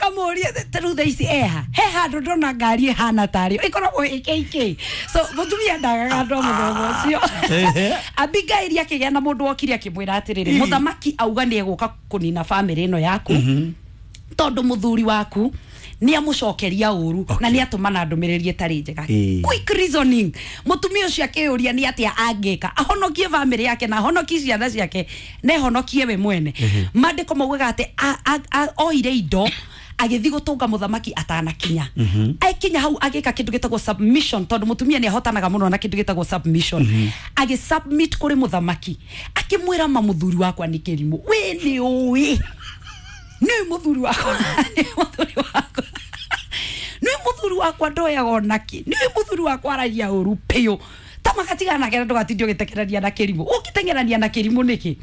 Ũkamũria ta rĩu thaa ici eha he handũ ndona ngari ĩhana tarĩ ĩkoragwo ĩkk. So mũtumia ndagaga andũ a mũthemba ũcio. Abigaili akĩgĩa na mũndũ wokire akĩmwĩra atĩrĩrĩ, mũthamaki auga nĩ egũka kũnina bamĩrĩ ĩno yaku tondũ mũthuri waku nĩ amũcokeria ũru na nĩ atũmana ndũmĩrĩri ĩtarĩ njega. Quick reasoning, mũtumia ũcio akĩyũria nĩ atĩa angĩka ahonokie bamĩrĩ yake na ahonokie ciana ciake na ehonokie we mwene. Maandĩko maugaga atĩ oire indo agĩthiĩ gũtũnga mũthamaki atanakinya. Akinya hau agĩka kĩndũ gĩtagwo submission, tondũ mũtumia nĩ ahotanaga mũno na kĩndũ gĩtagwo submission. Agĩsubmit kũrĩ mũthamaki akĩmwĩra, ma mũthuri wakwa nĩ kĩrimũ, we nĩ ũĩ nĩ mũthuri wakwa, nĩ mũthuri wakwa, nĩ mũthuri wakwa ndoyaga onaki, nĩ mũthuri wakwa aragia ũru piũ ta magatigana nake na ndũgatinde ũgĩtekerania na kĩrimũ. Ũngĩteng'erania na kĩrimũ nĩkĩ?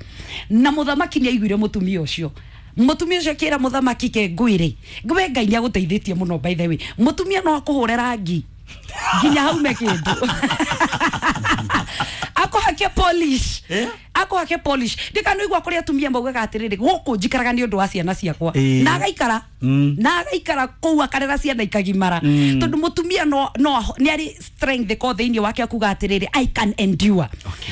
Na mũthamaki nĩ aiguire mũtumia ũcio. Mũtumia ũcio akĩra mũthamaki, ke ngwĩre we Ngai nĩ agũteithĩtie mũno. By the way, mũtumia no akũhũre rangi nginya haume kĩndũ, akũhake polish. Akũhake polish. Ndikanoigua kũrĩ atumia maugaga atĩrĩrĩ, gũkũ njikaraga nĩ ũndũ wa ciana ciakwa. Na agaikara na agaikara kũu akarera ciana ikagimara, tondũ mũtumia no nĩ arĩ strength ko thĩinĩ wake akuga atĩrĩrĩ, I can endure.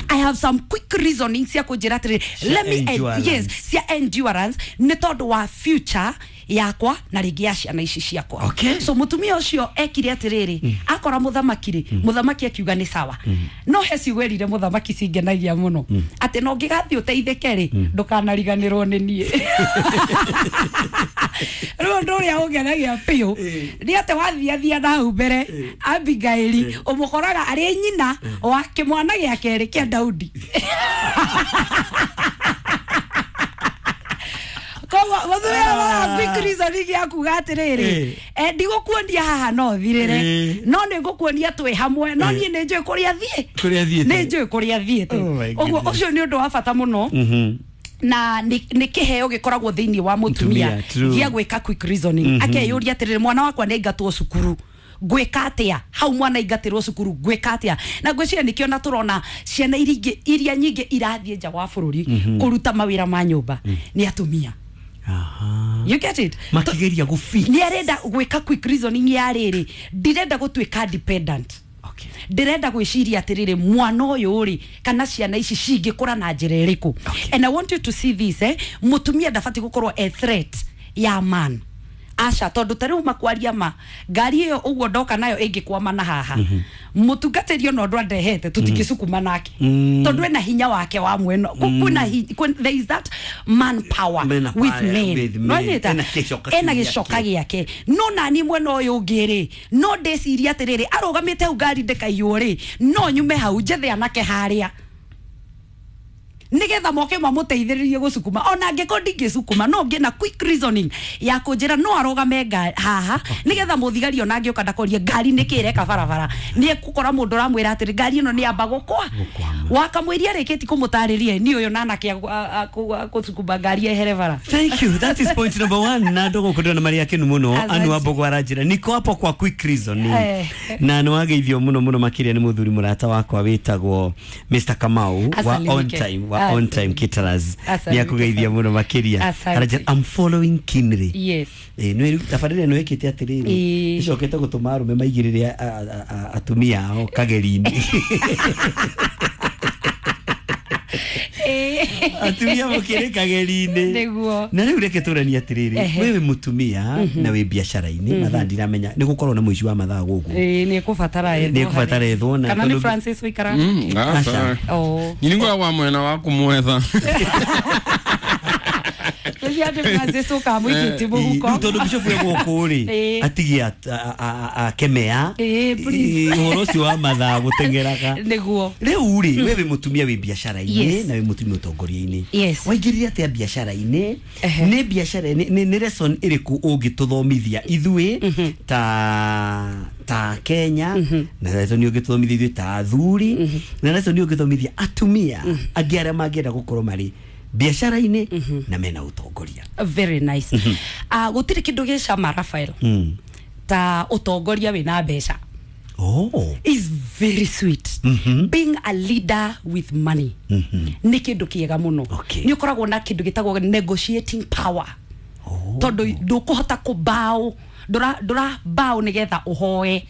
I have some quick reasoning cia kũnjĩra atĩrĩrĩ, let me endurance. Yes, cia endurance nĩ tondũ wa future yakwa na rĩngĩ ya ciana ici ciakwa. So mũtumia ũcio ekire atĩrĩrĩ, akora mũthamaki rĩ, mũthamaki akiuga nĩ sawa, no he ciugo erire mũthamaki cingenagia mũno, atĩ no ngĩgathiĩ ũteithĩke rĩ, ndũkanariganĩrwo nĩ niĩ. Rĩu ũndũ ũrĩa ũngenagia biũ nĩ atĩ wathiathia na hau mbere, Abigaili ũmũkoraga arĩ nyina wa kĩmwana gĩa kerĩ kĩa Daudi. Koguo mũthuri wa quick reasoning ya kuga atĩrĩrĩ, ndigũkuonia haha no thirĩre, no nĩ ngũkuonia twĩ hamwe, no niĩ nĩ njũĩ kũrĩa thiĩ. Kũrĩa thiĩte. Nĩ njũĩ kũrĩa thiĩte. Oh my Ũguo goodness. ũcio nĩ ũndũ wa bata mũno na nĩ kĩheo gĩkoragwo thĩinĩ wa mũtumia Mũtumia, true. gĩa gwĩka quick reasoning. Akeyũria atĩrĩrĩ, mwana wakwa nĩ aingatwo cukuru, ngwĩka atĩa? Hau mwana aingatĩrwo cukuru, ngwĩka atĩa? Na ngwĩciria nĩkĩo na tũrona ciana iria ingĩ iria nyingĩ irathiĩ nja wa bũrũri kũruta mawĩra ma nyũmba nĩ atumia. You get it? Makigeria gũfi Nĩ arenda gwĩka quick reasoning ya rĩrĩ, ndirenda gũtuĩka dependent, ndĩrenda gwĩciria atĩrĩrĩ, mwana ũyũ rĩ kana ciana ici cingĩkũra na njĩra ĩrĩkũ? And I want you to see this, eh? Mũtumia ndabatiĩ gũkorwo a threat ya man, aca, tondũ ta rĩu makwaria ma ngari ĩyo ũguo ndoka nayo ĩngĩkwama na haha, mũtungatĩri ona ũndũ andehete tũtingĩcukuma nake, tondũ ena hinya wake wa mwena. Kwĩna there is that man power Man with power men. with men. Nĩwanyita? Ena gĩcoka ena kĩu gĩcoka gĩake. Gĩake. No nani mwena ũyũ ũngĩ rĩ, no ndĩcirie atĩrĩrĩ, arũgamĩte hau ngari ndĩkaiywo rĩ, no nyume hau njethe anake harĩa nigetha moke mamũteithĩrĩrie gũcukuma. Ona angĩkorwo ndingĩcukuma, no ngĩe na quick reasoning ya kũnjĩra no arũgame haha nigetha mũthigari ona angĩũka ndakorie ngari nĩkĩ ĩreka barabara, nĩ ekũkora mũndũ ũramwĩra atĩrĩ, ngari ĩno nĩ yamba gũkwa. Gũkwama. Wakamũiria rĩkĩti kũmũtarĩria ni ũyũ na anake gũcukuma ngari ehere bara. Thank you. That is point number one. Na ndogo kundona maria kenu muno. Asante. Anu ambogo aranjira. Niko hapo kwa quick reasoning. Na nĩ wageithio mũno mũno makĩria nĩ mũthuri mũrata wakwa wĩtagwo Mr. Kamau wa Asalimike. On Time, wa On Time Caterers. Asalimike Nĩ akũgeithia sana. mũno makĩria. Asante. Aranjĩra I'm following keenly. Nĩ tabarĩra ĩno ĩkĩte atĩrĩrĩ, ĩcokete gũtũma arũme maigĩrĩre atumia ao kageri-inĩ. Atumia mũkĩrĩ kageri-inĩ. Na rĩu reke tũranie atĩrĩrĩ, we wĩ mũtumia na wĩ biacara-inĩ, mathaa ndiramenya nĩ gũkorwo na mũici wa mathaa gũkũ. Ĩĩ, nĩ ekũbatara ethwo. Nĩ ekũbatara ethwo na kana nĩ Francis wĩikara? Aca. Oh. Nyiningwa wa mwena wa kumwetha. Rĩrĩa atĩ Francis ũkamũikĩtie mũhuko. Rĩu tondũ bishop e gũkũ rĩ, atigie akemea Ĩĩ, please. Ũhoro ũcio wa mathaa gũteng'eraga. Rĩu rĩ, we wĩ mũtumia wĩ biacara-inĩ na wĩ mũtumia ũtongoria-inĩ. Waingĩrire atĩa biacara-inĩ? Nĩ biacara nĩ lesson ĩrĩkũ ũngĩtũthomithia ithuĩ ta Kenya, na lesson ũngĩtũthomithia ithuĩ ta athuri, na lesson ũngĩthomithia atumia angĩ arĩa mangĩenda gũkorwo marĩ biacara-inĩ na mena ũtongoria? Very nice. Gũtirĩ kĩndũ gĩ cama, Raphael, ta ũtongoria wĩna mbeca. Is very sweet. Being a leader with money nĩ kĩndũ kĩega mũno. Nĩ ũkoragwo na kĩndũ gĩtagwo negotiating power. Tondu ndukuhota kubaũ ndura bao nigetha uhoe.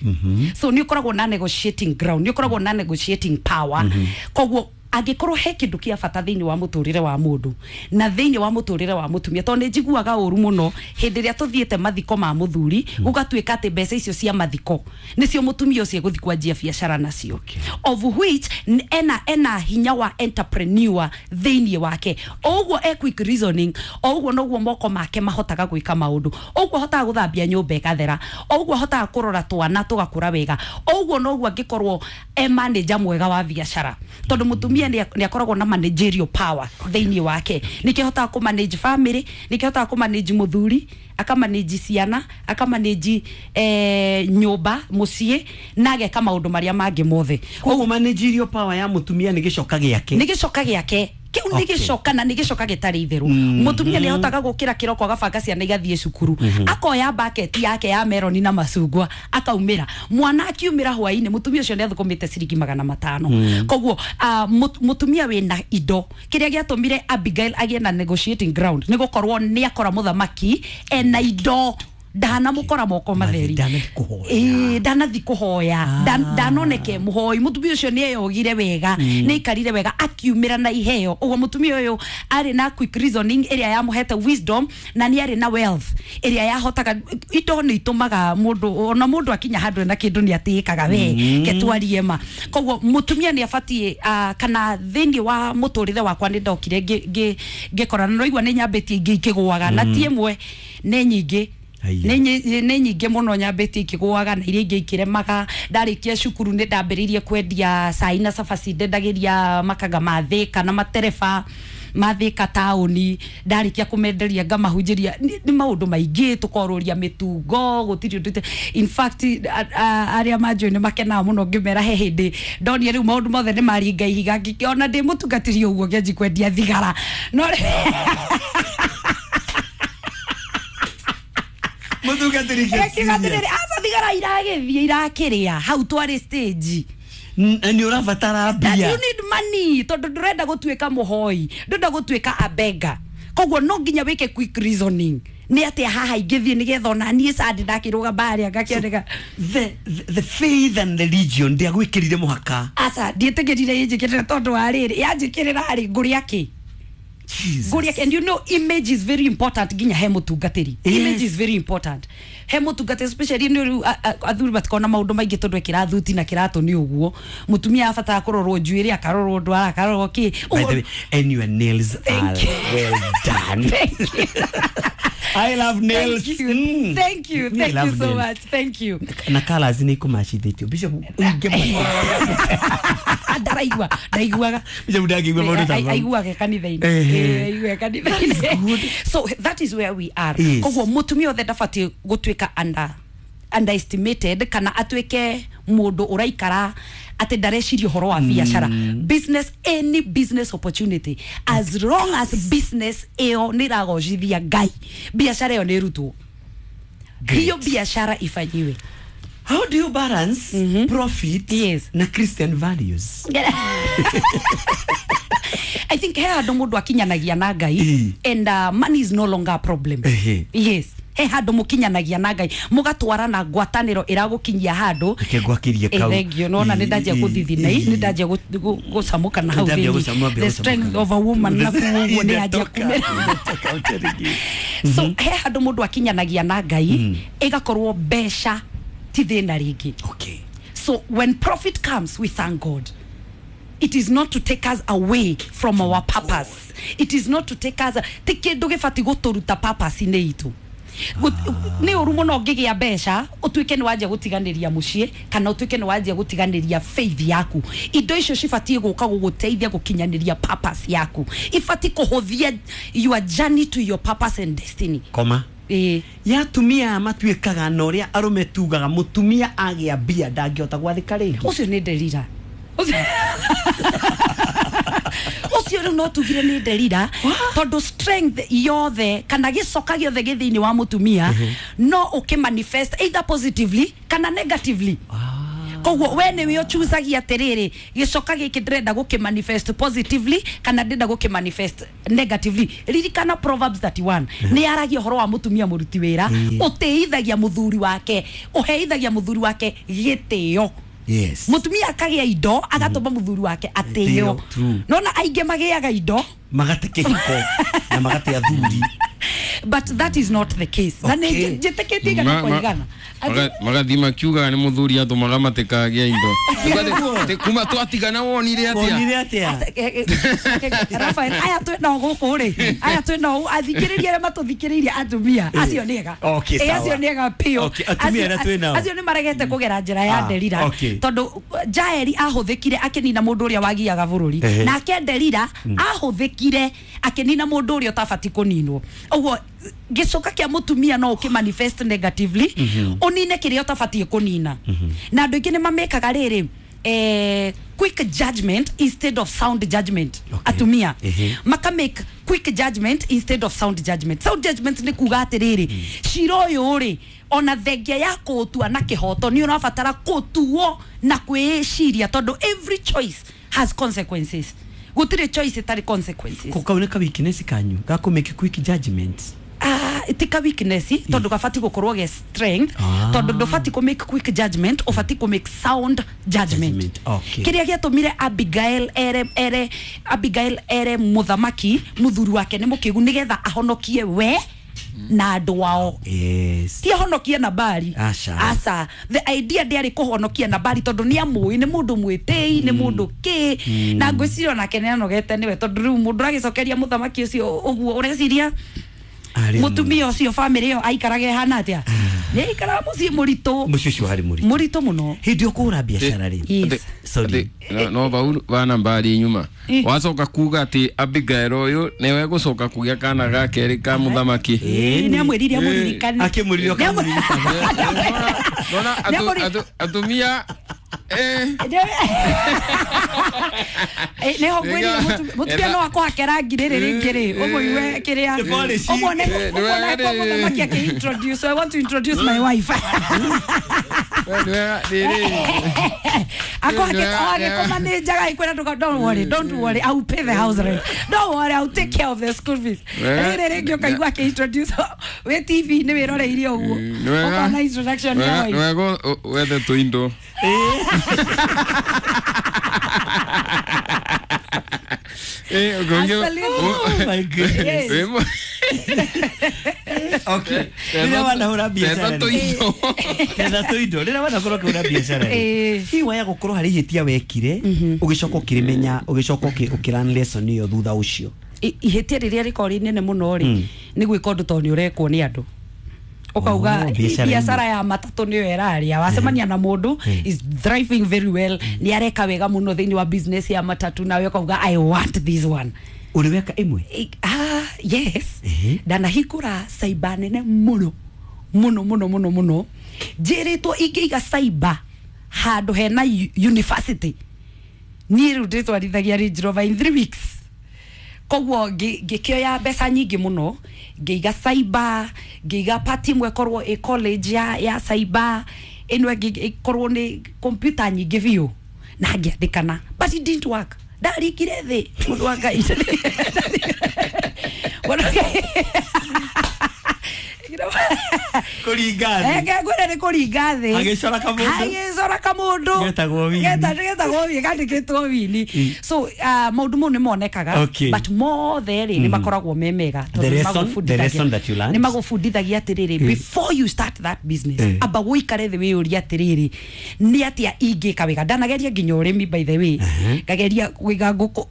So ni ukoragwo na negotiating ground, ni ukoragwo na negotiating power. Koguo angikorwo he kindu kia bata thiini wa muturire wa mundu na thiini wa muturire wa mutumia, tondu ni njiguaga uru muno hindi ria tuthiete mathiko ma muthuri gugatuika ati mbeca icio cia mathiko nicio mutumia ucio guthi kwanjia biacara nacio, of which ena hinya wa entrepreneur thiini wake. Oguo e quick reasoning, oguo noguo moko make mahotaga gwika maundu, oguo hotaga guthambia nyumba ikathera, oguo hotaga kurora twana tugakura wega, oguo noguo angikorwo e manager mwega wa biacara, tondu mutumia ni akoragwo na managerial power thiini wake. Nikihotaga ku manage family, nikihotaga ku manage muthuri, akamanage ciana, akamanage nyumba mucii, na ageka maundu maria mangi mothe. Koguo managerial power ya mutumia ni gicoka giake, ni gicoka giake kiu ni gicoka, na ni gicoka gitari itheru. Mutumia ni ahotaga gukira kiroko agabanga ciana igathie cukuru, akoya bucket yake ya meroni na macungwa akaumira, mwana akiumira hwaini mutumia ucio ni athukumite ciringi 500. Koguo mutumia wina indo, kiria giatumire Abigail agie na negotiating ground ni gukorwo ni akora muthamaki ena indo, ndana mukora moko matheri, ndanathi kuhoya, ndanoneke muhoi. Mutumia ucio ni eyogire wega, ni aikarire wega, akiumira na iheo. Uguo mutumia uyu ari na quick reasoning iria yamuhete wisdom, na ni ari na wealth iria yahotaga. Indo ni itumaga mundu ona mundu akinya handu na kindu ni atiikaga we ketwarie ma. Koguo mutumia ni abatie kana thiini wa muturire wakwa ni ndokire ngikora na noigua ni nyambitie ingi ikigwaga, na ti imwe ni nyingi, nä nyingä må no nyambä tie ikigwaga na iria ingä ikiremaga. Ndarä cukuru nä ndambä rä irie kwendia cai na cabaci, ndendagä ria makanga ma Thika na matereba ma Thika taũni, ndarä kia kå menderia ngamahunjä ria. Nä maå ndå maingä, tå korå ria mä tungo gå tirä å ndå. In fact arä a manjå nä makenaga må no ngä mera he hä ndä ndonire rä u maå ndå mothe nä maringa ihiga, ngĩkĩona ndä må tungatĩri å guo ngĩanji kwendia thigara no aca thigara iragithie irakiria hau twari stage ni urabatara mbia, you need money, tondu ndurenda gutuika muhoi, ndurenda gutuika abega. Koguo no nginya wike quick reasoning ni atia haha ingithie nigetha ona nie sandi ndakiruga baria ngakioneka. The faith and religion ndiagwikirire muhaka. Aca ndietigirire injikirire tondu wa riri yanjikirira ri nguria ki. Jesus. And you know, image is very important ginya he mutungatiri. Yes. Image is very important he mutungatiri, especially ni athuri batikona maundu maingi tondu ekira thuti na kiratu ni uguo. Mutumia abatara kurorwo njuiri, akarorwo ndwara, akarorwo ki. By the way, and your nails are well done. Thank you. I love nails. Thank you. Thank you. Thank you so much. Thank you. Na colors ni kumachithitio. Bishop uinge ndaraigua ndaiguaga Bishop ndangigua maundu ta mau. Aiguaga kanitha-inĩ. Aiguaga kanitha-inĩ. So that is where we are. Yes. Koguo mutumia othe ndabatiĩ gutuika underestimated kana atuike mundu uraikara ati ndareciria uhoro wa biacara. Business, any business opportunity, as long as business iyo ni iragocithia Ngai, biacara iyo ni irutwo, hiyo biacara ifanyiwe. How do you balance profit na Christian values? I think he handu mundu akinyanagia na Ngai, and money is no longer a problem. Yes. He handu mukinyanagia na Ngai, mugatwarana ngwataniro iragukinyia handu. Ngwakirie kau. Thank you. Nona ni ndanjia guthithina, ni ndanjia gucamuka na hau thini. The strength of a woman na kuguo ni anjia kumera. So he handu mundu akinyanagia na Ngai, igakorwo mbeca ti thina ringi. Okay. So when profit comes, we thank God. It is not to take us away from our purpose. It is not to take us ti kindu gibati guturuta purpose ini itu. Ni uru muno ngigia mbeca utuike ni wanjia gutiganiria mucii kana utuike ni wanjia gutiganiria faith yaku. Indo icio cibatie guka guguteithia gukinyaniria purpose yaku, ibati kuhuthia your journey to your purpose and destiny. Koma ya atumia matuikaga na uria arume tugaga mutumia agia mbia ndangihota gwathika ringi. Ucio ni nderira ucio riu no tugire ni nderira tondu strength yothe kana gicoka giothe gi thiini wa mutumia no ukimanifest either positively kana negatively. Koguo we nĩwe ũchuzagia atĩrĩrĩ, gĩcoka gĩkĩ ndĩrenda gũkĩ manifest positively kana ndĩrenda gũkĩ manifest negatively. Ririkana Proverbs 31 nĩ yaragia ũhoro wa mũtumia mũruti wĩra ũtĩithagia mũthuri wake, ũheithagia mũthuri wake gĩtĩo. Yes. Mũtumia akagĩa indo agatũma mũthuri wake atĩo. Nona aingĩ magĩaga indo magate kĩhiko na magate athuri. But that is not the case. Na nĩ njĩtĩkĩtie igana kwa igana. Magathi makiugaga nĩ mũthuri atũmaga matikagĩa indo. Kuma twatigana wonire atĩa? Wonire atĩa? Rafael, aya twĩ nao gũkũ rĩ, aya twĩ nao athikĩrĩria arĩa matũthikĩrĩirie atumia acio nĩ ega. Acio nĩ ega biũ. Atumia arĩa twĩ nao acio nĩ maregete kũgera njĩra ya Delila, tondũ Jaeli ahũthĩkire akĩnina mũndũ ũrĩa wagiaga bũrũri, nake Delila ahũthĩkire akĩnina mũndũ ũrĩa ũtabatiĩ kũninwo. Ũguo gĩcoka kĩa mũtumia no ũkĩ manifest negatively, ũnine kĩrĩa ũtabatiĩ kũnina. Na andũ aingĩ nĩ mamekaga rĩrĩ, quick judgment instead of sound judgment. Atumia maka make quick judgment instead of sound judgment. Sound judgment nĩ kuga atĩrĩrĩ, cira ũyũ rĩ, ona thengia ya kũũtua na kĩhoto nĩ ũrabatara kũtuo na kwĩciria, tondũ every choice has consequences. Gũtirĩ choice ĩtarĩ consequences. Kau nĩ ka weakness kanyu ga kũ make quick judgment? Ti ka weakness, tondũ gabati gũkorwo ge strength, tondũ ndũbati kũ make quick judgment, ũbati kũ make sound judgment. Kĩrĩa gĩatũmire Abigail ere Abigail ere mũthamaki mũthuri wake nĩ mũkĩgu nĩgetha ahonokie we na andũ ao. Yes. Ti ahonokie Nabali. Aca. The idea ndĩarĩ kũhonokia Nabali tondũ nĩ amũĩ, nĩ mũndũ mwĩtĩi, nĩ mũndũ kĩ, na ngwĩciria onake nĩ anogete nĩwe, tondũ rĩu mũndũ agĩcokeria mũthamaki ũcio ũguo ũreciria mũtumia ũcio family ĩyo aikarage ĩhana atĩa? Nĩ aikaraga mũciĩ mũritũ. Mũciĩ ũcio warĩ mũritũ. Mũritũ mũno. Hĩndĩ ĩyo kũhũra biacara rĩ. Sorry. No bau bana mbari nyuma. Wacoka kuga atĩ Abigail ũyũ nĩwe gũcoka kũgĩa kana ga kerĩ ka mũthamaki. Nĩ amwĩrire amũririkane. Akĩmwĩrire akamũririkana. Nona atumia nĩho ngwĩrire mũtumia no akũhake rangi rĩrĩ rĩngĩ rĩ, ũmũigue kĩrĩa ũmwone kwa mũthamaki akĩ introduce, I want to introduce my wife. Akũhake nĩ ikwĩra ndũka, don't worry, don't worry, I will pay the house rent, don't worry, I will take care of the school fees. Rĩrĩ rĩngĩ ũkaigua akĩ introduce wĩ TV nĩ wĩroreirie ũguo ũkona introduction ya wife. Nĩwega wethe tũindo. Oh my goodness. Okay. Rĩrĩa wanahũra biacara Tetha tũindo. Rĩrĩa wanakorwo ũkĩhũra biacara rĩ, hihi waya gũkorwo harĩ ihĩtia wekire, ũgĩcoka ũkĩrĩmenya, ũgĩcoka ũkĩlearn lesson ĩyo thutha ũcio? Ihĩtia rĩrĩa rĩkorwo rĩ inene mũno rĩ, nĩ gwĩka ũndũ tondũ nĩ ũrekwo nĩ andũ. Ukauga biacara ya matatũ nĩyo ĩraria, wacemania na mũndũ is thriving very well, nĩ areka wega mũno thĩinĩ wa business ya matatu, nawe ukauga I want this one. Ũrĩ weka ĩmwe? Yes. Ndanahingũra cyber nene mũno mũno mũno mũno mũno, njĩrĩtwo ingĩiga cyber handũ hena university, niĩ rĩu ndĩtwarithagia Range Rover in 3 weeks. Koguo ngĩkĩoya mbeca nyingĩ mũno, ngĩiga cyber, ngĩiga party ĩmwe ĩkorwo ĩ college ya cyber, ĩno ĩngĩ ĩkorwo nĩ computer nyingĩ biũ, na ngĩandĩkana, but it didn't work. Ndarikire thĩ mũndũ wa Ngai. Kũringa thĩ. Ngwĩra nĩ kũringa thĩ. Agĩcora kamũndũ. Agĩcora kamũndũ. Getagwo wini. Getagwo wini, gandĩkĩtwo wini. So maũndũ mau nĩ monekaga, but mothe rĩ nĩ makoragwo me mega, tondũ nĩ magũbundithagia atĩrĩrĩ, before you start that business, amba ũikare thĩ wĩyũrie atĩrĩrĩ, nĩ atĩa ingĩka wega. Ndanageria nginya ũrĩmi by the way, ngageria kũiga ngũkũ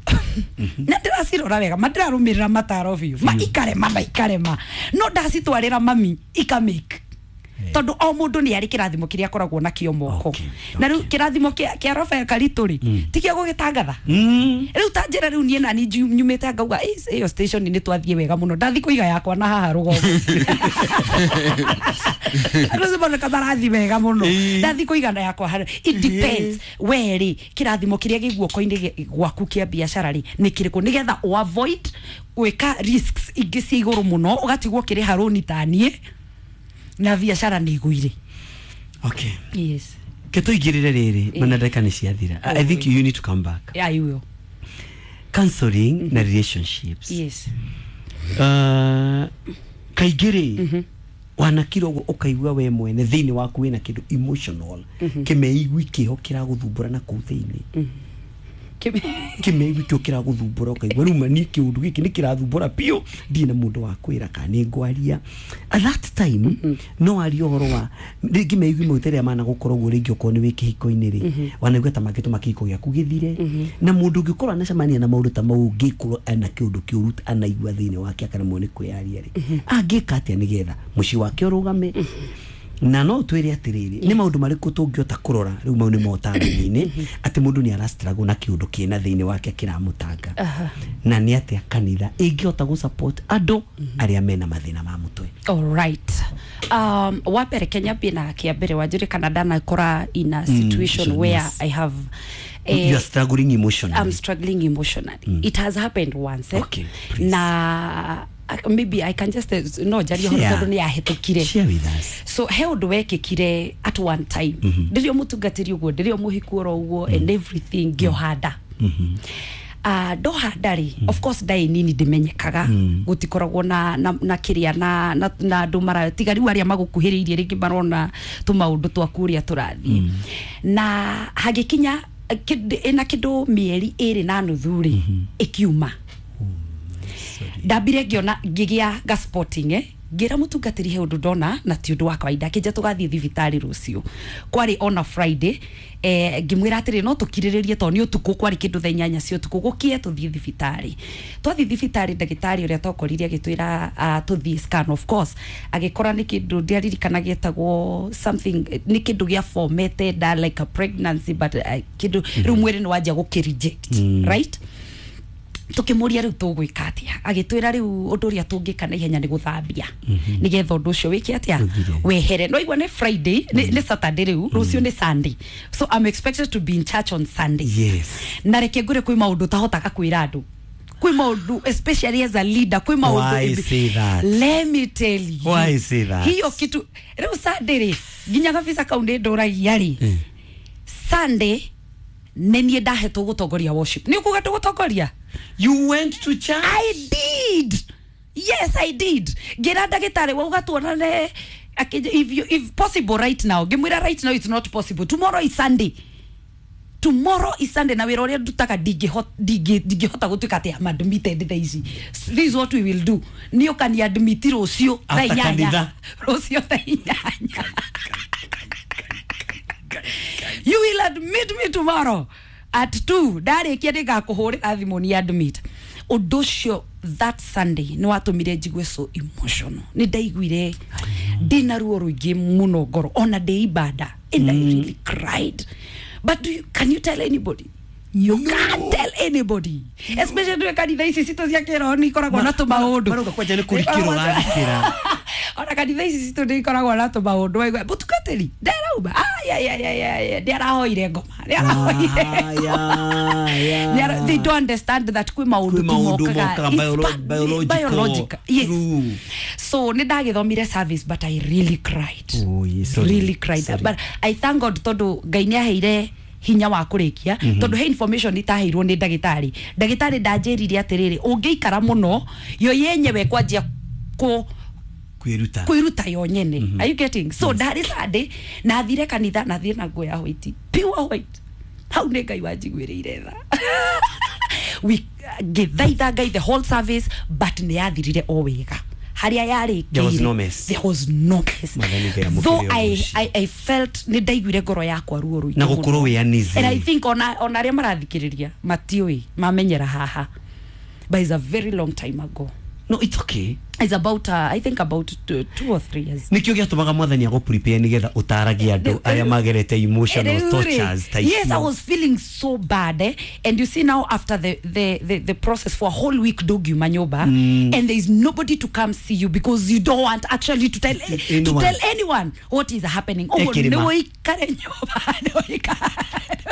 na ndĩracirora wega, ma ndĩrarũmĩrĩra mataro biũ, ma ikarema na ikarema, no ndacitwarĩra mami ikamake, tondu o mundu ni ari kirathimo kiria akoragwo nakio moko. Na riu kirathimo kia Rafael Karitũ ri ti kia gugitangatha. Riu ta njira riu nie nani nyumite ngauga iyo station ni twathie wega muno, ndathi kuiga yakwa na haha rugongo. Riu boneka marathi wega muno, ndathi kuiga na yakwa haha. It depends we ri kirathimo kiria gi guoko-ini gwaku kia biacara ri ni kiriku, nigetha u avoid gwika risks ingi cia iguru muno, ugatigwo kiriha roni ta nie na biacara nĩ iguire. Okay. Yes. Keto igirire riri mana ndagika ni ciathira. I think you need to come back. Yeah, I will. Counseling na relationships. Yes. Kaingĩ wanakira ũguo ũkaigua we mwene thĩinĩ waku wĩna kĩndũ emotional kĩmeigui kĩho kĩragũthumbũra na kũu thĩinĩ. Kĩmeigui kĩo kĩragũthumbũra ũkaigua rĩu niĩ kĩũndũ gĩkĩ nĩ kĩrathumbũra biũ ndirĩ na mũndũ wa kwĩra kana nĩ ngwaria. At that time no arie ũhoro wa rĩngĩ meigui mau ta rĩrĩa managũkorwo ũguo rĩngĩ okorwo nĩ wĩ kĩhiko-inĩ rĩ wanaigua ta mangĩtũma kĩhiko gĩaku gĩthire na mũndũ ũngĩkorwo anacemania na maũndũ ta mau ũngĩkorwo ena kĩũndũ kĩũru anaigua thĩinĩ wake akaremwo nĩ kwĩyaria rĩ angĩka atĩa nĩgetha mũciĩ wake ũrũgame na no twĩre atĩrĩrĩ nĩ maũndũ marĩkũ tũngĩhota kũrora rĩu mau nĩ motaaro-inĩ atĩ mũndũ nĩ arastruggle na kĩũndũ kĩna thĩinĩ wake kĩramũtanga na nĩ atĩa kanitha ĩngĩhota gũ support andũ arĩa mena mathĩna ma mũtwe. All right. Wa mbere Kenya bina kia mbere wanjire kana ndanakora in a situation where yes. I have you are struggling emotionally. I'm struggling emotionally. It has happened once. Okay, please. Na maybe I can just no jari horo tondu ni yahetukire. Share with us. So he undu wekikire at one time. Ndirio mutungatiri uguo ndirio muhiku oro uguo and everything ngiohanda. Ndohanda ri of course ndai nini ndimenyekaga gutikoragwo na kiria na andu mara tiga riu aria magukuhiriirie ringi marona tumaundu twaku uria turathie na hagikinya ina kindu mieri iri na nuthu ri ikiuma. Ndambire ngiona ngigia ga spotting ngira mutungatiri he undu ndona na ti undu wa kawaida kinja tugathie thibitari rucio kwari on a Friday ngimwira atiri no tukiriririe to ni utuku kwari kindu thaa 8 cia utuku gukie tuthie thibitari twathie thibitari ndagitari uria twakorire agitwira tuthie scan of course agikora ni kindu ndiaririkana gietagwo something ni kindu gia formete da like a pregnancy but kindu riu mwiri ni wanjia gukireject right. Tukimuria riu tugwika atia agitwira riu undu uria tungika na ihenya ni guthambia nigetha undu ucio wike atia wehere no igua ni Friday ni Saturday riu rucio ni Sunday so I'm expected to be in church on Sunday. Yes. Na reke ngure kwi maundu tahotaga kwira andu kwi maundu especially as a leader kwi maundu. Why say that? Let me tell you. Why say that? Hiyo kitu riu Sunday ri nginya kabisa kaundu nduragia ri Sunday nĩ niĩ ndahetwo gũtongoria worship. Nĩ ũkuga tũgũtongoria? You went to church? I did. Yes, I did. Ngira ndagĩtarĩ wauga tuonane if possible right now. Ngĩmwĩra right now it's not possible. Tomorrow is Sunday. Tomorrow is Sunday na wĩra ũrĩa ndutaga ndingĩhota gũtuĩka atĩ I'm admitted thaa ici. This is what we will do. Nĩ ũkani admit rũciũ thaa 8. Rũciũ thaa 8. You will admit me tomorrow at 2. Ndarikia ndigakuhurira thimu ni admit. Undu ucio that Sunday ni watumire njigue so emotional. Ni ndaiguire ndina ruo ruingi muno ngoro ona ndi ibada and I really cried. But can you tell anybody? You can't tell anybody. Especially ndwe kanitha ici citũ cia kĩroho nĩ ikoragwo na tũmaũndũ. Marauga kwanja nĩ kũrikĩrwo ũrarikĩra. Ona kanitha ici citũ nĩ ikoragwo na tũmaũndũ waigua mũtungatĩri ndarauma ndĩarahoire ngoma ndĩarahoire. They don't understand that kwĩ maũndũ tumokaga biological. Yes. So nĩ ndagĩthomire service but I really cried. Oh, yes, sorry. Really cried. Sorry. But I thank God tondũ Ngai nĩ aheire hinya wa kurikia tondu he information itaheirwo ni ndagitari ndagitari ndanjirire atiriri ungiikara muno yo yenyewe kwanjia ku kwiruta yo nyene. Are you getting? So ndari Sunday na thire kanitha na thire na nguo ya white pure white hau ni Ngai wanjiguiriire tha. We ngithaitha Ngai the whole service but ni yathirire o wega haria yari. There was no mess. There was no mess. Though I felt ni ndaiguire ngoro yakwa ruo ruingĩ na gukorwo wi uneasy. And I think ona aria marathikiriria matiui mamenyera haha but it's a very long time ago. No, it's okay. It's about I think about 2 or 3 years. Nikio giatumaga mwathani ago prepare nigetha utaragia andu aria magerete emotional tortures type. Yes, I was feeling so bad And you see now after the process for a whole week dog you manyoba and there is nobody to come see you because you don't want actually to tell anyone, to tell anyone what is happening. Oh, no ikare nyoba no ikare.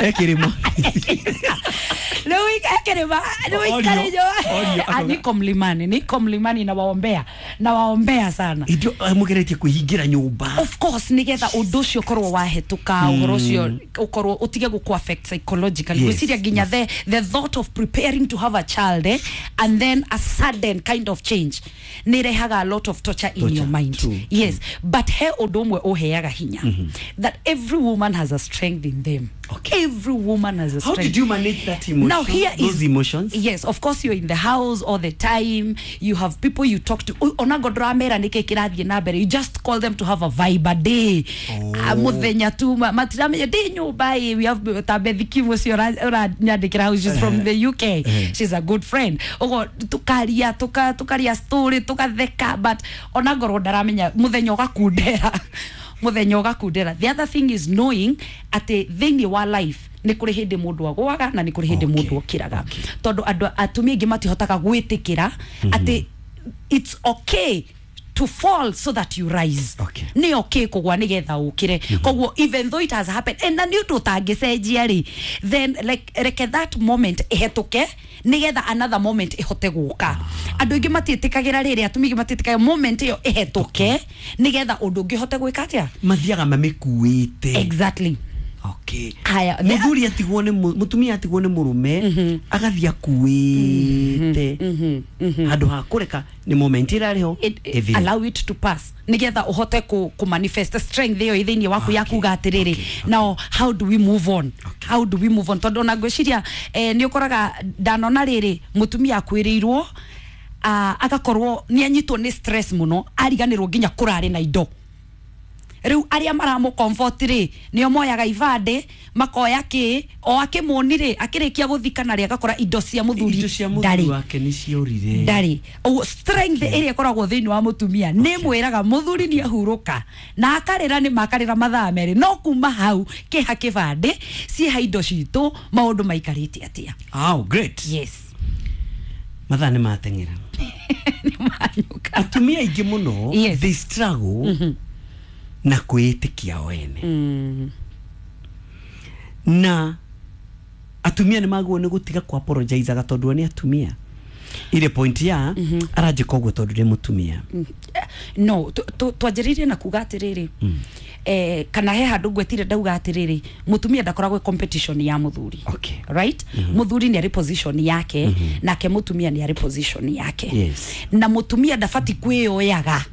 Ekirima. No ikare no ikare nyoba. Niko mlimani na waombea. Nawaombea, nawaombea sana. Idio mugeretie kuhingira nyumba. Of course nigetha undu ucio korwo wahetuka, uhoro ucio ukorwo utige guku affect psychologically. Gwiciria nginya the thought of preparing to have a child, and then a sudden kind of change nirehaga a lot of torture in your mind. True. Yes, but he undu umwe uheaga hinya, that every woman has a strength in them. Okay. Every woman has a strength. How did you manage that emotion? Now here those is emotions? Yes, of course you're in the house all the time. You have people you talk to. Ona godramera nike kirathie na mbere. You just call them to have a vibe a day. Muthenya tu matiramenya ndi nyumba. We have Tabethi Kimu cio uranyandikira house, she's from the UK. She's a good friend. Ugo tukaria tukaria story tukatheka, but ona ngorwo ndaramenya muthenya ugakundera. Muthenya ugakundera. The other thing is knowing ati thiini wa life ni kuri hindi mundu agwaga na ni kuri hindi mundu okiraga, tondu andu atumia ingi matihotaga gwitikira ati it's okay to fall so that you rise. Ni okay kugwa nigetha ukire. Koguo even though it has happened and na ni undu utangicenjia ri, then like reke that moment ihetuke nigetha another moment ihote guka. Andu ingi matiitikagira riri, atumia ingi matiitikagira moment iyo ihetuke nigetha undu ungi hote gwika atia mathiaga mamikuite. Exactly. Okay. Haya, muthuri atigwo ni mutumia atigwo ni murume agathia kuite handu ha kureka ni moment irari ho, allow it to pass nigetha uhote ku manifest strength iyo thiini waku ya kuga atiriri, now how do we move on? How do we move on? Tondu ona ngwiciria ni ukoraga ndanona riri mutumia akwiriirwo, agakorwo ni anyitwo ni stress muno, ariganirwo nginya kurari na indo. Riu aria maramu comfort ri nio moyaga ibande makoya ki o akimoni ri akirikia guthikana ri agakora indo cia muthuri ndari wake ni ciorire ndari. Strength iria ikoragwo thiini wa mutumia ni mwiraga muthuri ni ahuruka na akarira ni makarira mathaa meri, no kuma hau kiha kibande ciha indo citu maundu maikarite atia. Oh, great. Yes, mathaa ni mateng'era. Ni manyuka. Atumia aingi muno, yes, they struggle na kwĩĩtĩkia o ene. Na atumia nĩ magwo nĩ gũtiga ku apologizeaga tondũ nĩ atumia. Ile point ya aranjĩka ũguo tondũ nĩ mũtumia. No, twanjĩrĩirie na kuga atĩrĩrĩ, kana he handũ ngwetire ndauga atĩrĩrĩ, mũtumia ndakoragwo competition ya mũthuri. Okay. Right? Mũthuri nĩ arĩ position yake, nake mũtumia nĩ arĩ position yake. Yes. Na mũtumia ndabati kwĩyoyaga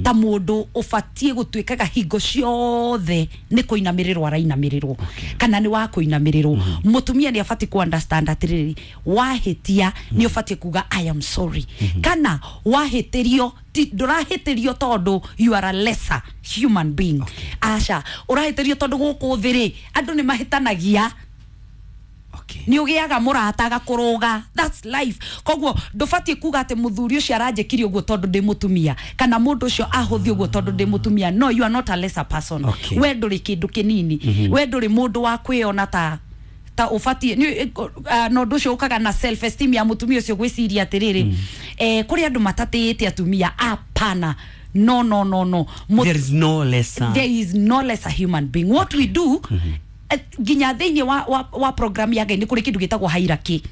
ta mundu ubatie gutwikaga hingo ciothe ni kuinamirirwo arainamirirwo kana ni wa kuinamirirwo. Mutumia ni abati ku understand atiriri, wahitia ni ubatie kuga I am sorry, kana wahitirio ndurahitirio tondu you are a lesser human being. Aca urahitirio tondu guku thiri andu ni mahitanagia. Ni ugiaga murata agakuruga, that's life. Koguo ndubatie kuga ati muthuri ucio aranjikire uguo tondu ndi mutumia kana mundu ucio ahuthi uguo tondu ndi mutumia. No, you are not a lesser person. We nduri kindu kinini, we nduri mundu wa kwiona ta ubatie no ndu ucio ukaga na self esteem ya mutumia ucio gwiciria atiriri, kuri andu matatiite atumia. Apana, no no no no, there is no lesser, there is no lesser human being. What we do nginya thiini wa program ya Ngai ni kuri kindu gitagwo hierarchy,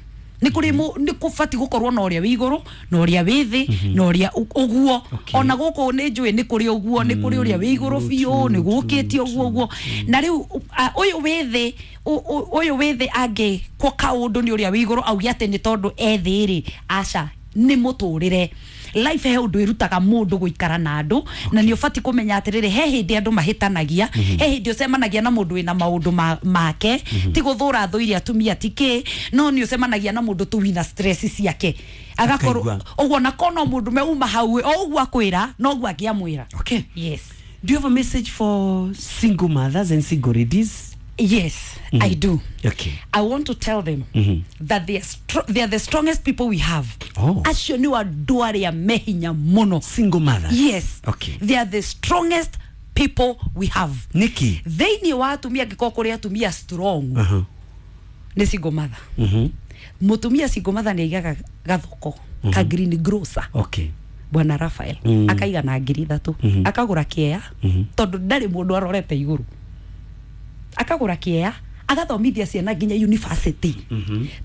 ni kuri ni kubati gukorwo na uria wi iguru na uria wi thi na uria uguo. Ona guku ni njui ni kuri uguo, ni kuri uria wi iguru biu ni gukite uguo uguo. Na riu uyu wi thi, uyu wi thi angi kwa kaundu ni uria wi iguru auge ati ni tondu e thi ri, aca ni muturire. Life he undu irutaga mundu guikara na andu, na ni ubati kumenya atiriri he hindi andu mahitanagia, he hindi ucemanagia na mundu wina maundu make, ti guthura thuire atumia tiki, no ni ucemanagia na mundu tu wina stress ciake agakorwo uguo, na kono mundu me uma hau o uguo akwira no uguo angiamwira. Okay. Yes. Do you have a message for single mothers and single ladies? Yes, I do. Okay. I want to tell them that they are the strongest people we have. Oh. Acio ni andu aria mehinya muno. Single mothers. Yes. Okay. They are the strongest people we have. Niki. Thiini wa atumia angĩkorwo kũrĩ atumia strong. Nĩ single mother. Mutumia single mother nĩ aigaga gathoko ka green grocer. Okay. Bwana Raphael akaiga na 3,000 akagura kĩea tondu ndarĩ mũndũ arorete igũrũ, akagura kĩea agathomithia ciana nginya university.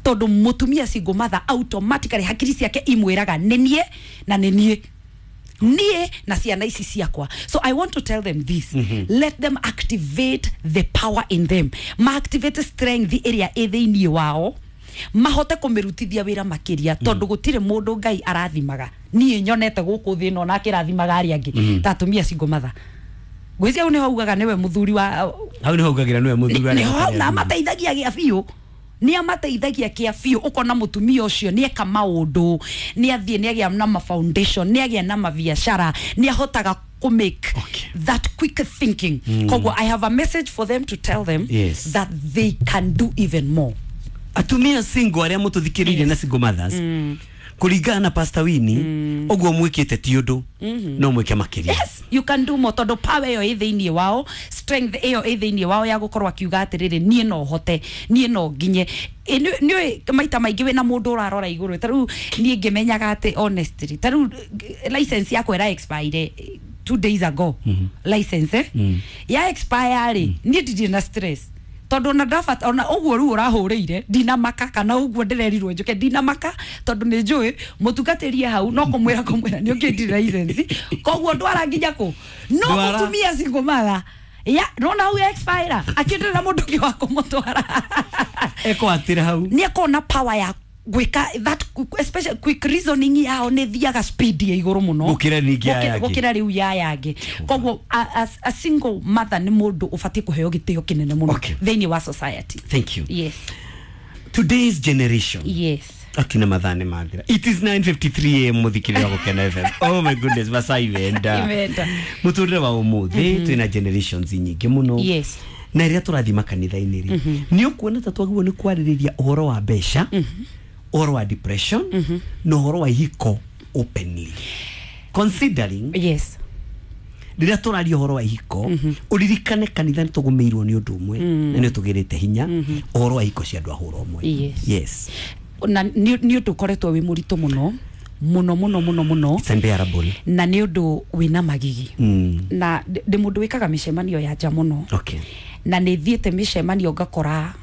Tondu mutumia single mother automatically hakiri ciake imwiraga nĩ niĩ na nĩ niĩ. Niĩ na ciana ici ciakwa. So I want to tell them this. Let them activate the power in them. Ma activate strength ĩrĩa ĩ thĩinĩ wao, mahote kũmĩrutithia wĩra makĩria, tondũ gũtirĩ mũndũ Ngai arathimaga. Niĩ nyonete gũkũ thĩ ĩno na akĩrathimaga arĩa angĩ ta atumia single mother. Ngwĩciria hau nĩho augaga nĩwe mũthuri wa Hau nĩho augagĩra nĩwe mũthuri wa nĩho hau, na amateithagia gĩa biũ, nĩ amateithagia kĩa biũ. Ũkona mũtumia ũcio nĩ eka maũndũ, nĩ athiĩ, nĩ agĩa na ma foundation, nĩ agĩa na mabiacara, nĩ ahotaga kũ make that quick thinking. Koguo I have a message for them to tell them that they can do even more. Atumia single arĩa mũtũthikĩrĩirie na single mothers, kũringana na Pastor Winnie, ũguo mwĩkĩte ti ũndũ, no mwĩke makĩria. Yes, you can do more, tondũ power ĩyo ĩ thĩinĩ wao, strength ĩyo ĩ thĩinĩ wao ya gũkorwo akiuga atĩrĩrĩ, niĩ no hote, niĩ no nginye. Nĩ maita maingĩ wĩna mũndũ ũrarora igũrũ. Ta rĩu niĩ ngĩmenyaga atĩ honestly, ta rĩu license yakwa ĩra expire 2 days ago. License ya expire rĩ, niĩ ndirĩ na stress, tondũ ona ndabata ona ũguo rĩu ũrahũrĩire ndinamaka, kana ũguo ndĩrerirwo njũke ndinamaka, tondũ nĩ njũĩ mũtungatĩrie hau no kũmwĩra nĩ ũkĩndire license, koguo ndwara nginya kũ no mũtumia single mother ya nona hau expire akĩndĩra mũndũ ũngĩ wa kũmũtwara ekwatĩra hau, nĩ akona power ya gwĩka that especially quick reasoning yao nĩ thiaga speed ya igũrũ mũno gũkĩra ningĩ ya yangĩ, gũkĩra rĩu ya yangĩ. Koguo a single mother nĩ mũndũ ũbatiĩ kũheo gĩtĩo kĩnene mũno thĩinĩ wa society. Thank you. Yes. Today's generation. Yes. Akina mathane mathira. It is 9:53 am muthikirira Gukena FM. Oh my goodness, masaa imenda. Muturire wa umuthi twina generations nyingĩ mũno. Yes. Na rĩrĩa tũrathiĩ makanitha-inĩ rĩ, nĩ ũkuona ta twagĩrĩirwo nĩ kwarĩrĩria ũhoro wa mbeca, ũhoro wa depression, na ũhoro wa ihiko openly. Considering yes, rĩrĩa tũraria ũhoro wa ihiko, ũririkane kanitha nĩ tũgũmĩirwo nĩ ũndũ ũmwe, na nĩ ũtũgĩrĩte hinya ũhoro wa ihiko cia andũ a hũra ũmwe. Yes. Yes. Na nĩ ũndũ ũkoretwo wĩ mũritũ mũno mũno mũno mũno mũno. It's unbearable. Na nĩ ũndũ wĩna magigi. Na ndĩ mũndũ wĩkaga mĩcemanio ya nja mũno. Okay. Na nĩ thiĩte mĩcemanio ngakora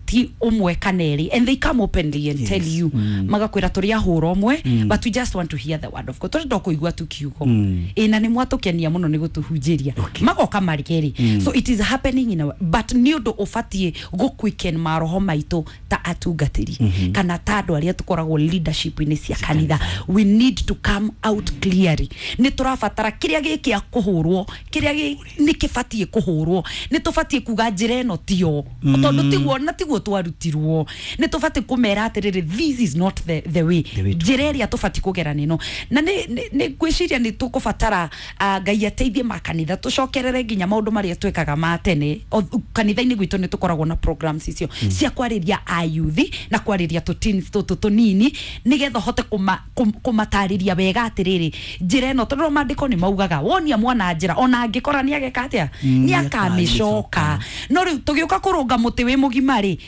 ti ũmwe kana erĩ, and they come openly and tell you, magakwĩra tũrĩ ahũra ũmwe, but we just want to hear the word of God, tũrenda kũigua tu kiugo. Ĩ na nĩ mwatũkenia mũno nĩ gũtũhunjĩria. Magoka marĩ kerĩ. So it is happening in our, but nĩ ũndũ ũbatiĩ gũquicken maroho maitũ ta atungatĩri kana ta andũ arĩa tũkoragwo leadership-inĩ cia kanitha. We need to come out clearly. Nĩ tũrabatara kĩrĩa gĩkĩ kũhũrwo, kĩrĩa nĩ kĩbatiĩ kũhũrwo, nĩ tũbatiĩ kuga njĩra ĩno tiyo, tondũ tiguo na tiguo twarutirwo. Nĩ tũbatiĩ kũmera atĩrĩrĩ, this is not the way, njĩra ĩrĩa tũbatiĩ kũgera nĩno. Na nĩ ngwĩciria nĩ tũkũbatara Ngai ateithie makanitha tũcokerere nginya maũndũ marĩa twekaga ma tene. Kanitha-inĩ gwitũ nĩ tũkoragwo na programs icio cia kwarĩria ayuthi na kwarĩria tũteens tũtũ tũnini, nĩgetha ũhote kũmatarĩria wega atĩrĩrĩ njĩra ĩno, tondũ maandĩko nĩ maugaga wonia mwana njĩra ona angĩkora nĩ ageka atĩa, nĩ akamĩcoka. No rĩu tũgĩũka kũrũnga mũtĩ wĩ mũgima rĩ,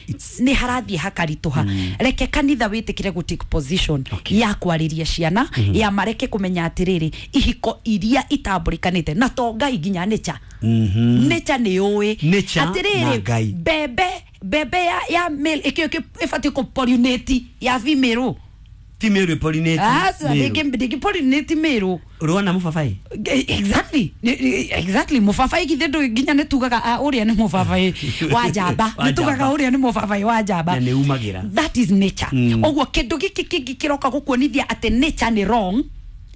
nĩ harathiĩ hakaritũha. Reke kanitha wĩtĩkĩre gũ take position ya kwarĩria ciana, ya mareke kũmenya atĩrĩrĩ ihiko iria itambũrĩkanĩte na to Ngai nginya nature. Nature nĩ ũĩ atĩrĩrĩ mbembe ya male ĩkĩo ĩbatiĩ kũ pollinate ya female, ti male pollinate. Aca ndĩngĩ pollinate male. Ũrona mũbabaĩ? Exactly. Exactly. Mũbabaĩ githĩ ndũ nginya nĩ tugaga ũrĩa nĩ mũbabaĩ wa njamba. Nĩ tugaga ũrĩa nĩ mũbabaĩ wa njamba. Na nĩ umagĩra. That is nature. Ũguo kĩndũ gĩkĩ kĩngĩ kĩroka gũkuonithia atĩ nature nĩ wrong.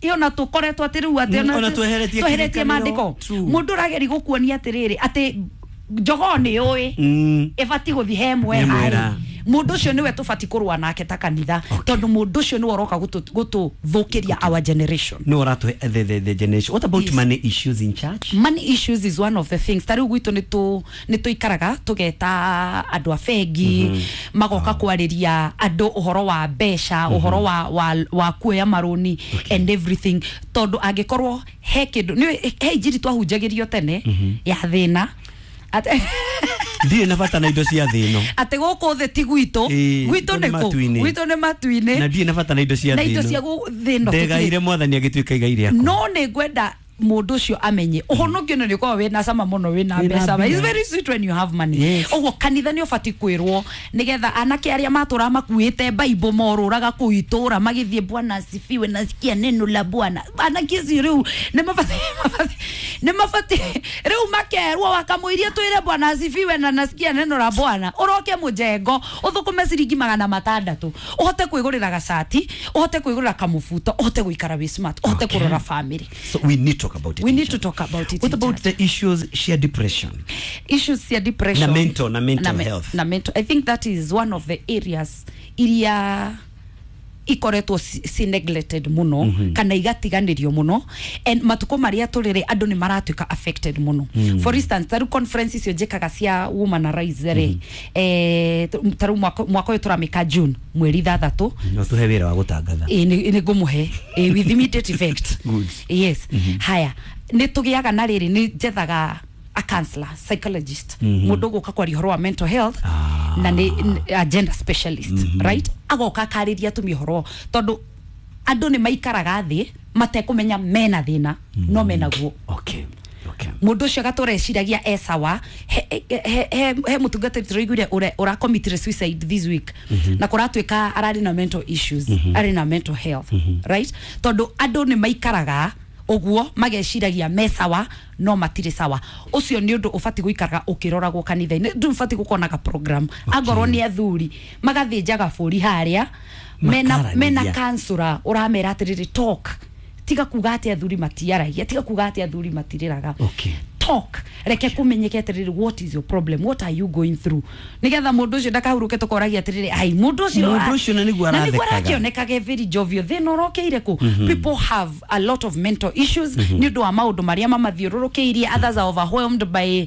Iyo na tũkoretwo atĩ rĩu atĩ ona tweheretie maandĩko. Mũndũ ũrageria gũkuonia atĩrĩrĩ atĩ njogoo nĩ ũĩ ĩbatiĩ gũthiĩ he mwera. Mũndũ ũcio nĩwe tũbatiĩ kũrũa nake ta kanitha, tondũ mũndũ ũcio nĩwe ũroka gũtũthũkĩria our generation. No ũratũhe the generation. What about money issues in church? Money issues is one of the things. Ta rĩu gwitũ nĩ tũikaraga tũgeta andũ a bengi, magoka kwarĩria andũ ũhoro wa mbeca, ũhoro wa kuoya marũni and everything, tondũ angĩkorwo he kĩndũ he injiri twahunjagĩrio tene ya thĩna. Ndirĩ na bata na indo cia thĩ ĩno. Atĩ gũkũ thĩ ti gwitũ, gwitũ nĩ kũ? Gwitũ nĩ matu-inĩ. Na ndirĩ na bata na indo cia thĩ ĩno. Na indo cia thĩ ĩno. Ndegaire Mwathani agĩtuĩka igai rĩakwa. No nĩ ngwenda Mundu ucio amenye uhonokio nĩ ũkoragwo wĩna cama mũno wĩna mbeca. It's very sweet when you have money. Ũguo kanitha nĩ ũbatiĩ kwĩrwo nĩgetha anake arĩa matũraga makuĩte Bible morũraga kũu itũra magĩthiĩ Bwana asifiwe nasikia neno la Bwana. Anake acio rĩu nĩ mabatiĩ rĩu makerwo wakamũiria twĩre Bwana asifiwe na nasikia neno la Bwana ũroke mũjengo ũthũkũme ciringi 600 ũhote kwĩgũrĩra gacati ũhote kwĩgũrĩra kamũbuto ũhote gũikara wĩ smart ũhote kũrora family. So we need to talk about it. We need to talk about it. What about the issues share depression? Issues share depression. Na mental health. Na mental. I think that is one of the areas iria ikoretwo si neglected muno kana igatiganirio muno and matuko maria turire andu ni maratuika affected muno. For instance taru conference icio njikaga cia Woman Arise ri taru mwaka uyu turamika June mweri 6 no tuhe wira wa gutangatha ni ngumuhe with immediate effect. Good. Yes. Haya ni tugiaga na riri ni njethaga a counselor psychologist mundu guka kwaria horo wa mental health na ni a gender specialist right agoka kariria atumia horo tondu andu ni maikaraga thi matekumenya mena thina no menaguo. Okay. Mundu ucio gatura eciragia e sawa he mutungatiri turaiguire ura committed suicide this week na kuratuika arari na mental issues ari na mental health right tondu andu ni maikaraga uguo mageciragia me sawa no matire sawa. Ucio ni undu ubati guikaraga ukiroragwo kanitha-ini ndu ubati gukonaga program angorwo ni athuri magathinjaga buri haria mena kansura uramera atiriri talk tiga kuga ati athuri matiaragia tiga kuga ati athuri matiriraga. Okay. Talk reke kumenyeke atiriri what is your problem what are you going through nigetha mundu ucio ndakahuruke tukoragia atiriri ai mundu ucio na niguo arathekaga arakionekaga very jovial thina urokeire ku. People have a lot of mental issues ni undu wa maundu maria mamathiururukiirie. Others are overwhelmed by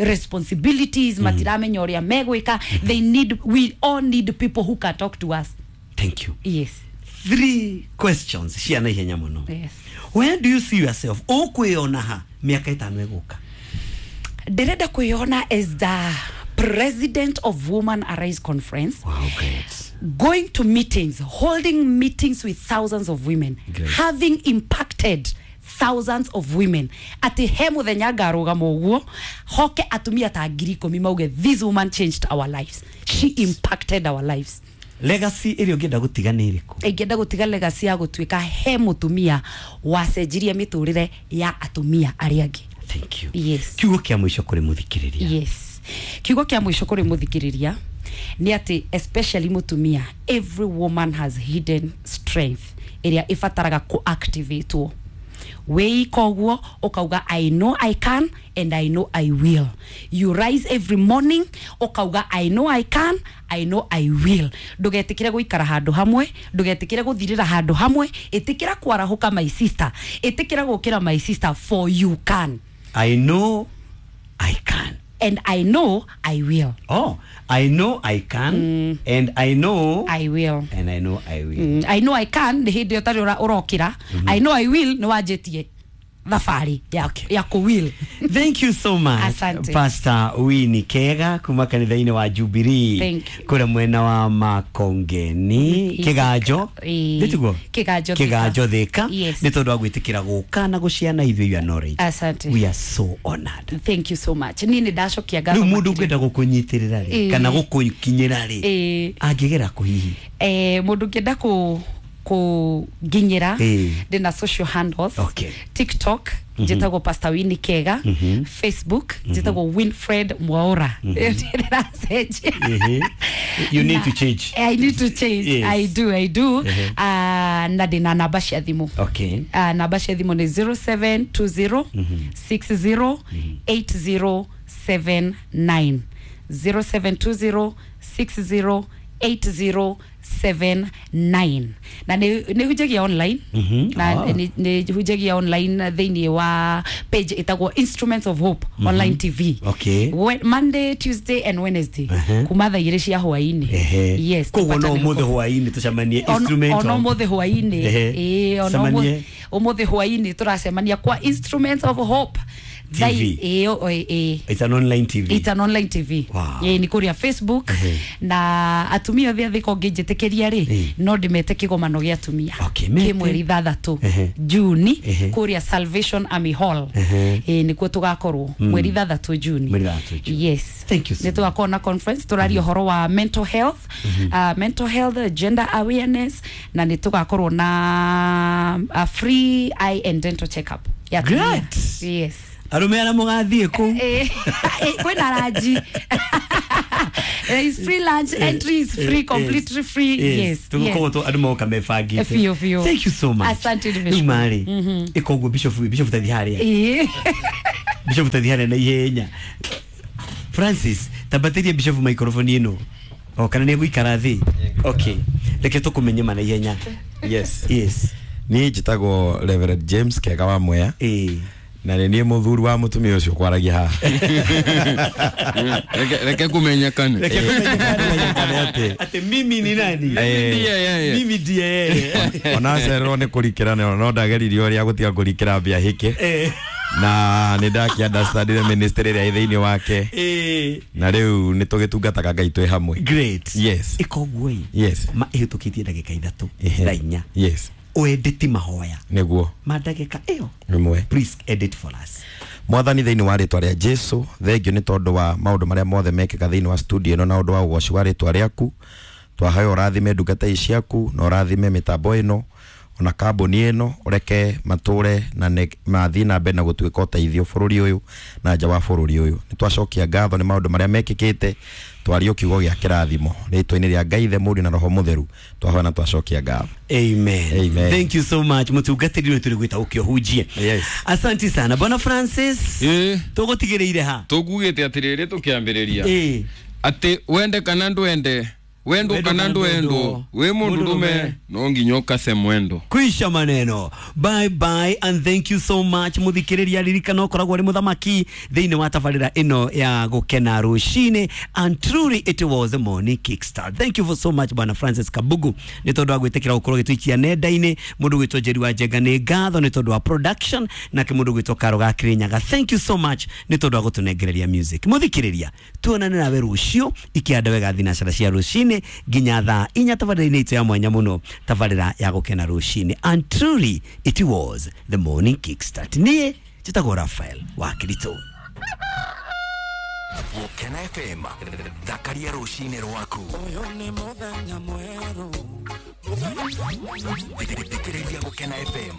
responsibilities matiramenya uria megwika. They need we all need people who can talk to us. Thank you. Yes. 3 questions ciana ihenya muno. Yes. Where do you see yourself ukwiyona ha miaka 5 iguka? Ndirenda kwiyona as the president of Woman Arise Conference. Wow, great. Going to meetings, holding meetings with thousands of women. Great. Having impacted thousands of women ati he muthenya ngarugama uguo hoke atumia ta 10,000 mauge this woman changed our lives. She impacted our lives. Legacy iri ungienda gutiga ni iriku? Ingienda gutiga legacy ya gutuika he mutumia wacenjirie miturire ya atumia aria angi. Thank you. Yes. Kiugo kia mwisho kuri muthikiriria. Yes. Kiugo kia mwisho kuri muthikiriria ni ati especially mutumia every woman has hidden strength iria ibataraga ku activate wei koguo ukauga I know I can and I know I will. You rise every morning ukauga I know I can, I know I will. Ndugetikire guikara handu hamwe, ndugetikire guthirira handu hamwe, itikira kwarahuka my sister, itikira gukira my sister, for you can. I know I can and I know I will. Oh, I know I can and I know I will and I know I will. I know I can ni hindi utari urokira. I know I will ni wanjitie thabari ya ku will. Thank you so much. Asante. Pastor Winnie Kega kuma kanitha-inĩ wa Jubilee kura mwena wa Makongeni Kiganjo nĩtiguo Kiganjo Thika nĩ tondũ wa gwĩtĩkĩra gũka na gũciana ithuĩ your knowledge. Asante. We are so honored. Thank you so much. Niĩ nĩ ndacokia ngatho. Rĩu mũndũ ũngĩenda gũkũnyitĩrĩra rĩ kana gũkũkinyĩra rĩ angĩgera kũ hihi? Mũndũ ũngĩenda ku nginyira ndina social handles. Okay. TikTok njitagwo Pastor Winnie Kega, Facebook njitagwo Winfred Mwaura. You need to change. I need to change. Yes. I do. Na ndina namba cia thimu. Okay. Namba cia thimu ni 0720 60 8079 0720 60 8079 na nĩ hunjagia online. Na nĩ hunjagia online thĩinĩ wa page ĩtagwo Instruments of Hope Online TV. Okay. Monday, Tuesday and Wednesday kuma thaa 2 cia hwaĩ-inĩ. Yes. Koguo no ũmũthĩ hwaĩ-inĩ tũcemanie Instrument ono ũmũthĩ hwaĩ-inĩ. Ĩĩ ono ũmũthĩ hwaĩ-inĩ tũracemania kwa Instruments of Hope TV. Ĩyo. It's an online TV. It's an online TV. Wow. Ĩ, nĩ kũrĩa Facebook. Na atumia othe a Thika ũngĩnjĩtĩkĩria rĩ, no ndĩmete kĩgomano gĩa atumia Okay, mete. kĩ mweri 6 Juni kũrĩa Salvation Army Hall. Ĩ, nĩkuo tũgakorwo mweri 6 Juni. Mweri 6 Juni. Yes. Thank you so Nĩ tũgakorwo na conference tũraria ũhoro wa mental health, mental health, gender awareness, na nĩ tũgakorwo na a free eye and dental check up ya atumia. Great. Yes. Arume arĩa mũgathiĩ kũu. Kwĩna ranji. There is free lunch, entry is free, completely free. Yes. Tũgũkorwo andũ moka mebangĩte. Biũ, biũ. Thank you so much. Asante, Rĩu Bishop. marĩ ĩkoguo Bishop, Bishop tathi harĩa. Bishop tathi harĩa na ihenya. Francis, tambatĩria Bishop microphone ĩno. O kana nĩ egũikara thĩ. Okay, reke tũkũmenye ma na ihenya. Yes. Yes. Niĩ njĩtagwo Reverend James Kega wa Mwea, na nĩ niĩ mũthuri wa mũtumia ũcio kwaragia haha. Reke kumenyekane. Reke Kumenyekane atĩ atĩ mimi ni nani. Ndiye yeye. Mimi ndiye yeye. Ona cererwo nĩ kũrikĩra no ndageririe ũrĩa gũtiga kũrikĩra mbia hĩke, na nĩ ndakĩ-understandire ministry ĩrĩa ĩ thĩinĩ wake, na rĩu nĩ tũgĩtungataga Ngai twĩ hamwe. Great. Yes. Ĩkoguo ĩ, ma ĩhĩtũkĩtie ndagĩka 3 thaa 4, ũendeti mahoya Nĩguo. ma ndagĩka ĩyo. Ĩmwe. Please edit for us. Mwathani, thĩinĩ wa rĩtwa rĩa Jesu, thengio nĩ tondũ wa maũndũ marĩa mothe mekĩka thĩinĩ wa studio ĩno na ũndũ wa ũgoci wa rĩtwa rĩaku. Twahoya ũrathime ndungata ici ciaku na ũrathime mĩtambo ĩno ona kambuni ĩno, ũreke matũre na mathiĩ na mbere na gũtuĩka ũteithio bũrũri ũyũ na nja wa bũrũri ũyũ. Nĩ twacokia ngatho nĩ maũndũ marĩa mekĩkĩte. Twario kiugo gĩa kĩrathimo rĩtwa-inĩ rĩa Ngai Ithe, Mũriũ na Roho Mũtheru, twahoya na twacokia ngatho. Amen. Amen. Thank you so much, mũtungatĩri ũyũ tũrĩ gwĩta ũkĩũhunjie. Yes. Asante sana, Bwana Francis. Tũgũtigĩrĩire ha? Tũkugĩte atĩrĩrĩ tũkĩambĩrĩria atĩ wende kana ndwende, wendo Wendo kana kana ndwendwo, ndwendwo, wĩ mũndũ mũndũrũme, rũme no nginya ũkase mwendo. Kwisha maneno. Bye bye and thank you so much. Muthikiriria, ririkana ũkoragwo ũrĩ mũthamaki thĩinĩ wa tabarĩra ĩno ya gũkena rũcinĩ, and truly it was a morning kickstart. Thank you for so much, Bwana Francis Kabugu, nĩ tondũ wa gwĩtĩkĩra gũkorwo gĩtũikia nenda-inĩ. Mũndũ gwĩtwo Njeri wa Njenga, nĩ ngatho nĩ tondũ wa production, nake mũndũ gwĩtwo Karo ga Kĩrĩnyaga, thank you so much nĩ tondũ wa gũtũnengereria music. Mũthikĩrĩria, tuonane nawe rũciũ ikĩanda wega thinacara cia rũcinĩ nginya thaa 4 tabarĩra-inĩ itũ ya mwanya mũno, tabarĩra ya gũkena rũcinĩ, and truly it was the morning kickstart. Niĩ njĩtagwo Rafael wa Kiritũ. Gũkena FM, thakaria rũcinĩ rwaku. Thikĩrĩria Gũkena FM,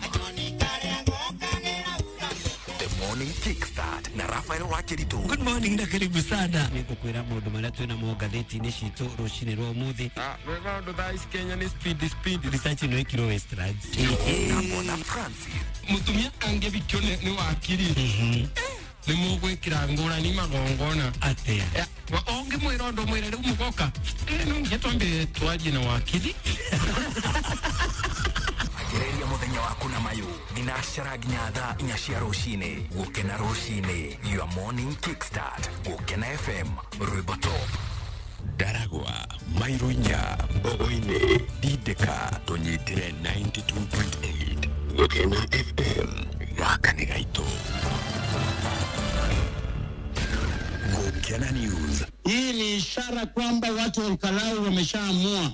The Morning Kickstart na Rafael Wakiritu. Good morning na karibu sana. Nĩngũkwĩra maũndũ marĩa twĩna mo ngathĩti-inĩ citũ rũcinĩ rwa ũmũthĩ. Maũndũ thaa ici Kenya nĩ speed speed. Research ĩno ĩkirwo Westlands. Na Bwana Francis. Mũtumia angĩthikio nĩ wakiri nĩ mũgwĩkĩra ngũrani magongona. Atĩa? Ũngĩmwĩra ũndũ mwĩre rĩu mũgoka, no nginya twambe twarie na wakiri. Anjĩrĩria mũthenya waku na mayũ thinacara nginya thaa 4 cia rũcinĩ. Gũkena rũcinĩ, your morning kickstart. Gũkena FM, rwĩmbo top. Ndaragwa, Mairunya, Mbogoini, Dideka, tũnyitĩre 92.8 Gũkena FM, gaka nĩ gaitũ. Gũkena News. Hii ni ishara kwamba watu wa Olkalau wameshaamua.